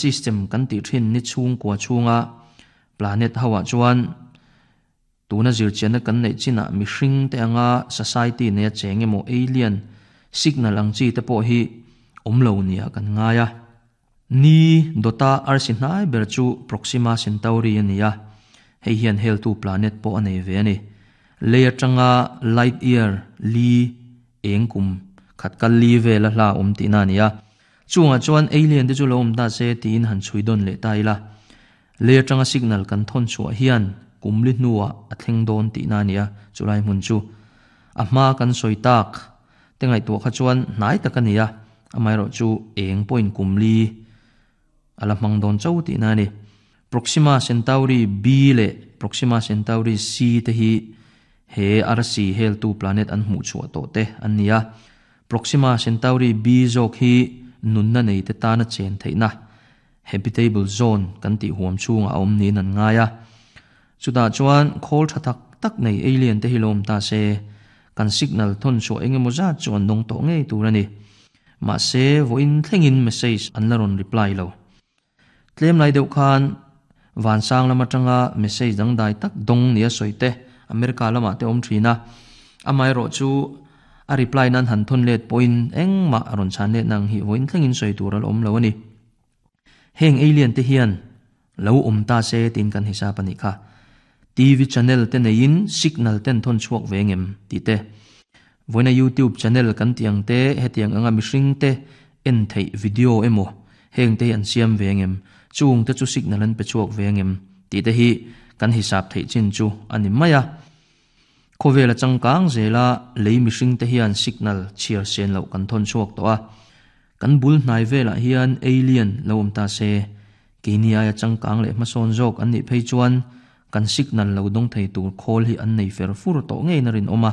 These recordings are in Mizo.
System kan tih thin ni chhungkua chhunga planet ho ah chuan tuna zirchianna kan neih chinah mihring te anga society neia cheng emaw alien signal ang chi te pawh hi awm lo nia kan ngai a. Ni dawta arsi hnai ber chu Proxima Centauri a ni a, hei hian heltu planet pawh a nei ve a ni. Lei atanga light year li eng kum khat kal li vela hla awm tihna a ni a. Chungah chuan alien te chu lo awm ta se tiin han chhui dawn leh ta ila. Lei atanga signal kan thawn chhuah hian kum li hnuah a thleng dawn tihna a ni a, chulai hmun chu a hma kan sawi tak te ngaihtuah kha chuan hnai tak a ni a, amaherawh chu eng pawhin kum li a la hmang dawn cho tihna a ni. Proxima Centauri B leh Proxima Centauri C te hi he arsi heltu planet an hmuh chhuah tawh te an ni a. Proxima Centauri B zawk hi nunna nei te tana chen theihna, habitable zone, kan tih huam chhungah a awm niin an ngai a. Chutah chuan khawl tha tak tak nei alien te hi lo awm ta se, kan signal thawn chhuah eng emaw zat chu an dawng tawh ngei tur a ni. Mahse, vawiin thlengin message an la rawn reply lo. Tlem lai deuh khan vansang lam atanga message dangdai tak dawng nia sawi te America lamah te awm thin a, amaherawh chu a reply nan han thawn let pawhin engmah a rawn chhan let nang hi vawiin thlengin sawi tur a la awm lo a ni. Heng alien te hian lo awm ta se tiin kan hisap a nih kha. TV channel te neiin signal ten thawn chhuak ve ngem tih te. Vawiina YouTube channel kan tih ang te hetiang anga mihring te en theih video emaw heng te hi an siam ve ngem, chung te chu signal an pe chhuak ve ngem tih te hi kan hisap theih chin chu a ni mai a. Khawvel a changkang zela lei mihring te hian signal chhiar sen loh kan thawn chhuak tawh a. Kan bul hnai velah hian alien lo awm ta se, keini aia changkang leh hmasawn zawk an nih phei chuan kan signal lo dawng thei tur khawl hi an nei fer fur tawh ngei na rinawm a.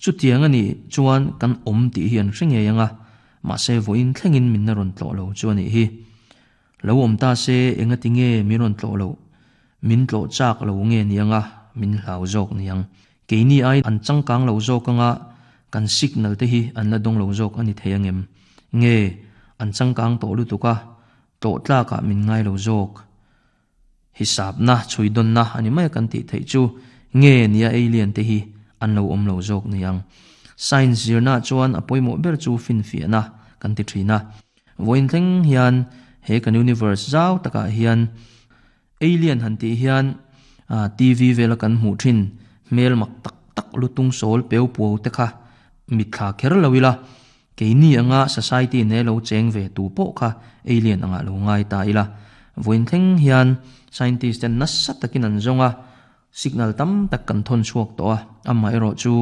Chutiang a nih chuan kan awm tih hi an hre ngei ang a, mahse vawiin thlengin min na rawn tlawh lo chu a nih hi. Lo awm ta se engati nge min rawn tlawh loh? Min tlawh chak lo nge ni anga min hlau zawk ni ang? Keini ai an changkang lo zawk anga kan signal te hi an la dawng lo zawk a ni thei angem? Nge an changkang tawh lutuk a, tlawh tlakah min ngai lo zawk? Hisapna, chhuidawnna a ni mai a kan tih theih chu nge nia alien te hi an lo awm lo zawk ni ang? Science zirna chuan a pawimawh ber chu finfiahna kan ti thin a. Vawiin thleng hian he kan universe zau takah hian alien han tih hian TV vela kan hmuh thin hmel mak tak tak lutung sawl peu puau te kha mitthla kher lo ila keini anga society ne lo cheng ve tu pawh kha alien angah lo ngai ta ila. Vawiin thleng hian scientist ten nasa takin an zawng a, Signal tam tak kan thawn chhuak tawh a, amaherawh chu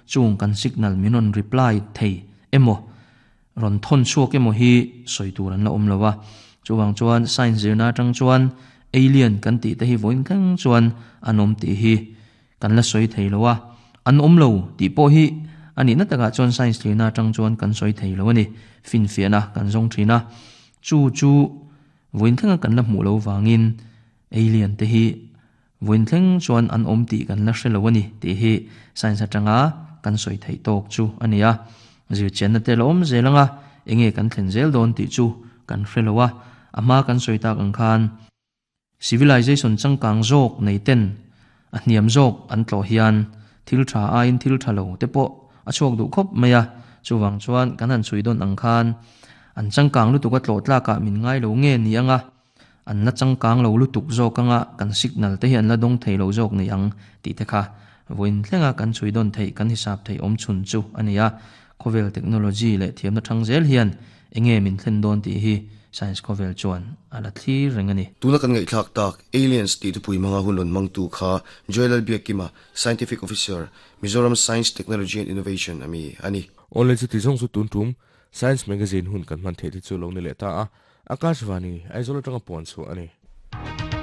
chung kan signal min rawn reply thei emaw, rawn thawn chhuak emaw hi sawi tur an la awm lo a. Chuvang chuan science zirna atang chuan alien kan tih te hi vawiin thleng chuan an awm tih hi kan la sawi thei lo a, an awm lo tih pawh hi a nihna takah chuan science zirna atang chuan kan sawi thei lo a ni. Finfiahna kan zawng thin a, chu chu vawiin thlenga kan la hmuh lo vangin alien te hi Vawiin thleng chuan an awm tih kan la hre lo a ni tih hi science atanga kan sawi theih tawk chu a ni a. Zirchianna te la awm zel anga enge kan thlen zel dawn tih chu kan hre lo a. A hma kan sawi tak ang khan civilization changkang zawk nei ten a hniam zawk an tlawh hian thil tha aiin thil tha lo te pawh a chhuak duh khawp mai a. Chuvang chuan kan han chhui dawn ang khan an changkang lutuk a tlawh tlakah min ngai lo nge ni anga An la changkang lo lutuk zawk anga kan signal te hi an la dawng thei lo zawk ni ang tih te kha vawiin thlenga kan chhui dawn theih kan hisap theih awm chhun chu a ni a. Khawvel technology leh thiamna thang zel hian enge min thlen dawn tih hi science khawvel chuan a la thlir reng a ni. Tuna kan ngaihthlak tak Aliens tih thupui hmanga hun rawn hmangtu kha Joel Lalbiakkima, Scientific Officer, Mizoram Science, Technology and Innovation ami a ni. Awle chuti zawng chu tun tum Science Magazine hun kan hman theih te chu lo ni leh ta a, Akashvani, Aizawl atanga puan chhuah a ni.